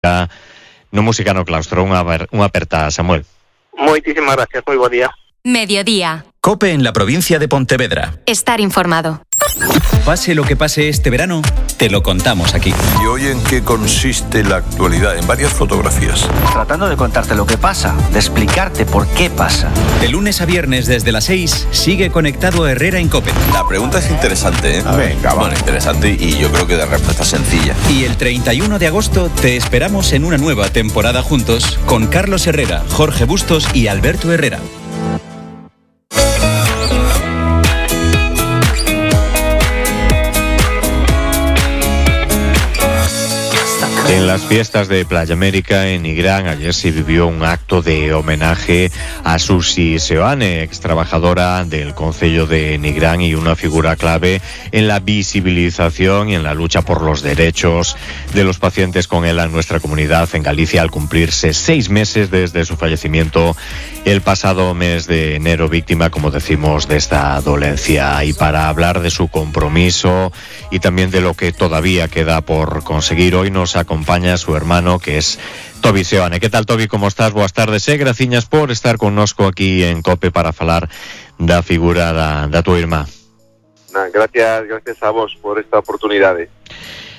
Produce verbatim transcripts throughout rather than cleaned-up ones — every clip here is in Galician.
no Música no Claustro. Unha, unha aperta, Samuel. Moitísimas gracias, moi bo día. Mediodía. COPE en la provincia de Pontevedra. Estar informado. Pase lo que pase este verano, te lo contamos aquí. ¿Y hoy en qué consiste la actualidad? En varias fotografías. Tratando de contarte lo que pasa, de explicarte por qué pasa. De lunes a viernes desde las seis, sigue conectado Herrera en COPE. La pregunta es interesante, ¿eh? A ver, Venga, bueno, interesante y yo creo que de respuesta sencilla. Y el treinta y uno de agosto te esperamos en una nueva temporada juntos con Carlos Herrera, Jorge Bustos y Alberto Herrera. En las fiestas de Playa América en Nigrán ayer se vivió un acto de homenaje a Susi Seoane, ex trabajadora del Concello de Nigrán y una figura clave en la visibilización y en la lucha por los derechos de los pacientes con ELA en nuestra comunidad en Galicia, al cumplirse seis meses desde su fallecimiento el pasado mes de enero, víctima, como decimos, de esta dolencia. Y para hablar de su compromiso y también de lo que todavía queda por conseguir, hoy nos acompaña su hermano, que es Tobi Seoane. ¿Qué tal, Tobi? ¿Cómo estás? Boas tardes, eh? Graciñas por estar connosco aquí en COPE para falar da figura da, da tua irmá. Nah, gracias, gracias a vos por esta oportunidade.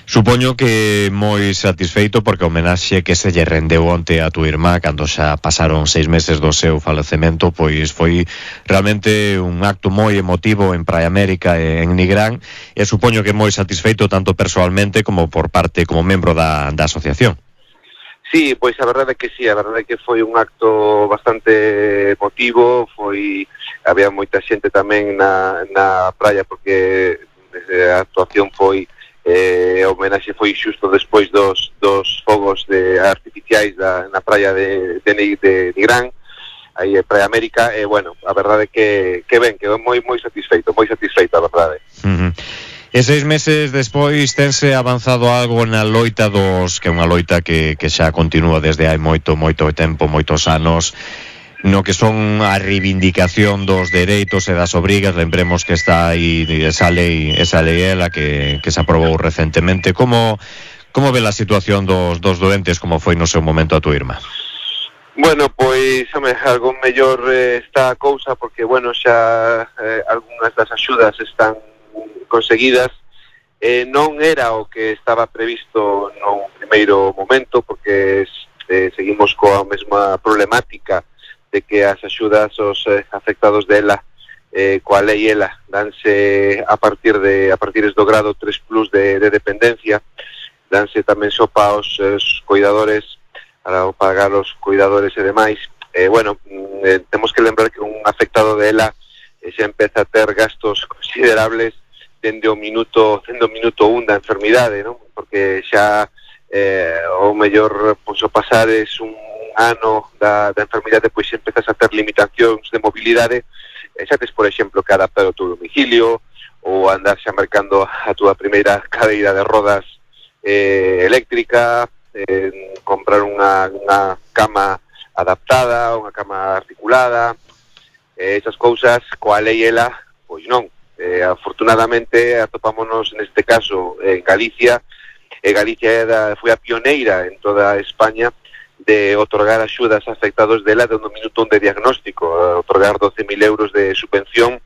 Supoño que moi satisfeito porque o homenaxe que se lle rendeu onte a tua irmá cando xa pasaron seis meses do seu falecemento, pois foi realmente un acto moi emotivo en Praia América e en Nigrán, e supoño que moi satisfeito tanto persoalmente como por parte como membro da, da asociación. Sí, pois a verdade é que sí, a verdade é que foi un acto bastante emotivo, foi había moita xente tamén na, na praia porque a actuación foi eh, o homenaxe foi xusto despois dos, dos fogos de artificiais da, na praia de, de, de Nigrán, aí en Praia América, e bueno, a verdade é que, que ben, que moi moi satisfeito, moi satisfeito, a verdade. Uh-huh. E seis meses despois tense avanzado algo na loita dos, que é unha loita que, que xa continúa desde hai moito, moito tempo, moitos anos, no que son a reivindicación dos dereitos e das obrigas. Lembremos que está aí esa lei, esa lei ela que, que se aprobou recentemente. Como, como ve a situación dos, dos doentes, como foi no seu momento a tua irmá? Bueno, pois, home, algo mellor eh, está a cousa, porque, bueno, xa eh, algunhas das axudas están conseguidas. Eh, non era o que estaba previsto no primeiro momento, porque eh, seguimos coa mesma problemática de que as axudas aos eh, afectados dela eh, coa lei ela danse a partir de a partir do grado tres plus de, de dependencia, danse tamén sopa aos eh, cuidadores para pagar os cuidadores e demais. Eh, bueno, eh, temos que lembrar que un afectado dela eh, xa empeza a ter gastos considerables dende o minuto dende o minuto un da enfermidade, non? Porque xa eh, o mellor pois, o pasar es un ano da, da enfermidade, pois empezas a ter limitacións de mobilidade, e xa tes, por exemplo, que adaptar o teu domicilio ou andar xa mercando a túa primeira cadeira de rodas eh, eléctrica, eh, comprar unha, unha cama adaptada, unha cama articulada, eh, esas cousas coa lei ela, pois non. Eh, afortunadamente atopámonos neste caso en Galicia, e Galicia era, foi a pioneira en toda España de otorgar axudas a afectados dela dende o minuto un de diagnóstico, otorgar doce mil euros de subvención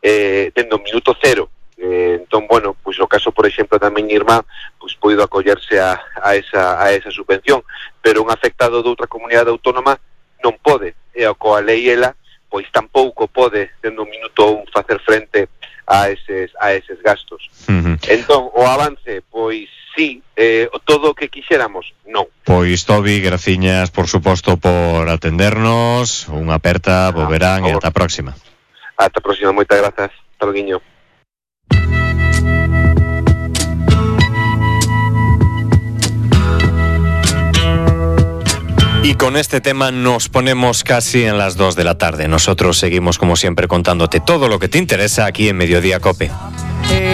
eh, dende o minuto cero. Eh, entón, bueno, pois o caso, por exemplo, da miña irmá, pois poido acollerse a, a, esa, a esa subvención, pero un afectado de outra comunidade autónoma non pode, e a coa lei ela, pois tampouco pode dende o minuto un facer frente a eses, a eses gastos. Uh-huh. Entón, o avance, pois sí, eh, todo o que quixéramos, non. Pois, Tobi, graciñas, por suposto, por atendernos, unha aperta, bo verán e ata a próxima. Ata a próxima, moitas grazas. Hasta logo. Y con este tema nos ponemos casi en las dos de la tarde. Nosotros seguimos, como siempre, contándote todo lo que te interesa aquí en Mediodía COPE.